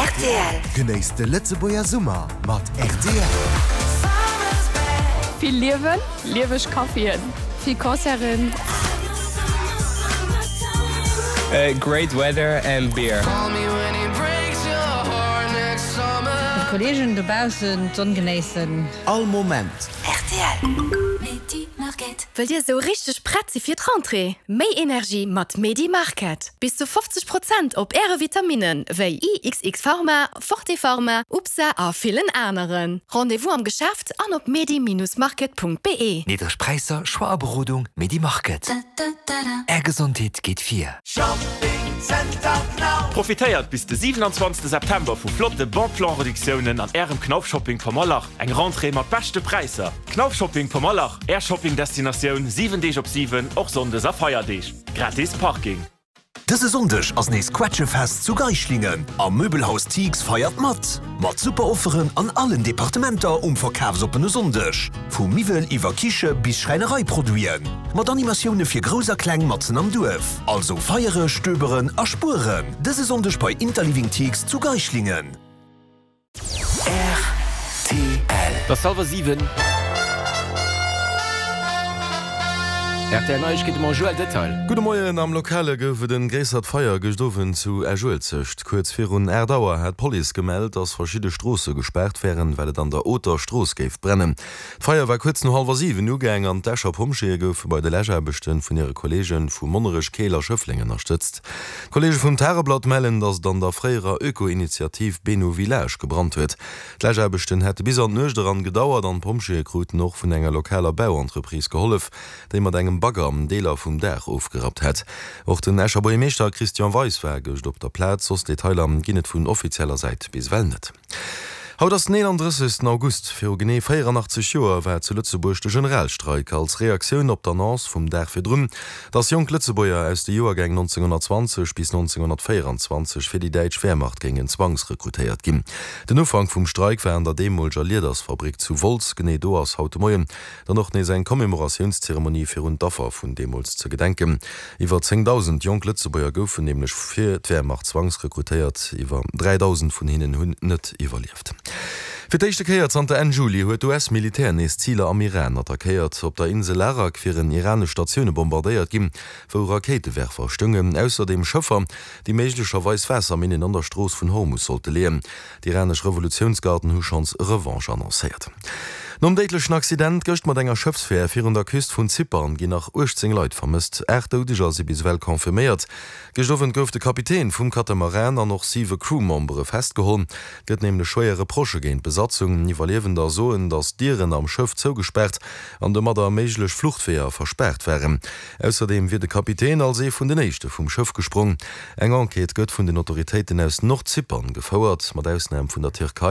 Rtl. Genéisst de Lëtzebuerger Summer mat rtl. Vill Liewen, lieweg Caféen, vill Concerten. Great weather and beer. Mat Kollegen dobaussen d'Sonn genéissen. All Moment. Rtl. Wëllt Dir esou richteg prett si fir d'Rentrée? Méi Energie mat Medi Market! Bis zu 50 Prozent op Äre Vitaminnen wéi IXX Pharma, Forte Pharma, UPSA a villen aneren. Rendez-vous am Geschäft an op medi-market.be. Niddreg Präisser, Choix a Berodung, Medi Market. Är Gesondheet geet vir. Profitéiert bis de 27 September vu flotte Bon Plan Reduktiounen an Ärem Knauf Shopping Pommerlach. Eng Rentrée mat beschte Präisser. Knauf Shopping Pommerlach, Är Shopping Destinatioun 7 Deeg op 7, och Sonndes a Feierdeeg. Gratis Parking. Dëse Sonndeg ass nees Quetschefest zu Geischlingen a Möbelhaus Thix feiert mat! Mat super Offeren an allen Departementer um verkafsoppene Sonndeg, vu Miwwel iwwer Kiche bis Schräinereiproduiten. Mat Animatioune fir Grouss a Kleng matzen am Duerf. Also feiere, stöberen a spueren dëse Sonndeg bei Interliving Thix zu Geischlingen. Rtl. Et ass hallwer 7. Rtl Neiegkeete mam Joël Detail. Gudde Moien, Am Lokale gouf et en gréissert Feier gëscht Owend zu Esch-Uelzecht. Kuerz virun 8 Auer hat d'Police gemellt, dass verschidde Stroosse gespaart wären, well et an der Oter Strooss géif brennen. D'Feier war kuerz no hallwer 7 ugaang an d'Escher Pompjeeë goufe bei de Läschaarbechte vun hire Kolleege vu Monnerech, Keel a Schëffleng ënnerstëtzt. D'Kolleege vum Tageblatt mellen, datt et an der fréierer Öko-Initiativ Beno Village gebrannt huet. D'Läschaarbechten hätte bis an d'Nuecht eran gedauert an d'Pompjeeë kruten och vun enger lokaler Bauentreprise gehollef, déi mat engem Bagger Deeler vum Daach ofgerappt hätt. Och den Escher Buergermeeschter Christian Weis war gëscht op der Plaz. Soss Detailer ginn et vun offizieller Säit bis ewell net. Haut ass den 31. August. Viru genee 84 Joer war zu Lëtzebuerg de Generalstreik als Reaktioun op d'Annonce vum Dag virdrun, datt jonk Lëtzebuerger aus de Joergäng 1920 bis 1924 fir déi däitsch Wehrmacht géingen zwangsrekrutéiert ginn. Den Ufank vum Streik war an der deemoleger Liedersfabrik zu Wolz. Genee do ass haut de Moien Dann och nees eng Commémoratiounszeremonie fir un d'Affer vun deemools ze gedenken. Iwwer 10.000 jonk Lëtzebuerger goufen nämlech fir d'Wehrmacht zwangsrekrutéiert, iwwer 3.000 vun hinnen hunn net iwwerlieft. Fir d'éischte Kéier zanter Enn Juli huet d'US-Militär nees Ziler am Iran attackéiert. Op der Insel Larak wieren iranesch Statioune bombardéiert ginn, wou Rakéitewerfer stoungen. Ausserdeem Schëffer, déi méiglecherweis Waasserminnen an der Strooss vun Hormus sollte leeën. D'iranesch Revolutiounsgarden hu schonns Revanche annoncéiert. Nom déidlechen Accident gëscht mat enger Schëffsfähr virun der Küst vun Zypern ginn nach 18 Leit vermësst. 8 Doudeger si bis ewell confirméiert. Gëscht Owend gouf de Kapitän vum Katamaran an och siwe Crewmembere festgeholl. Et gëtt nämlech schwéier Reprochë géint d'Besatzung. Iwwerliewender soen, datt d'Dieren am Schëff zougespaart an domadder méiglech Fluchtweeër verspaart waren. Ausserdeem wier de Kapitän als ee vun den éischte vum Schëff gesprong. Eng Enquête gëtt vun den Autoritéiten aus Nordzypern gefouert, mat Ausnam vun der Tierkei.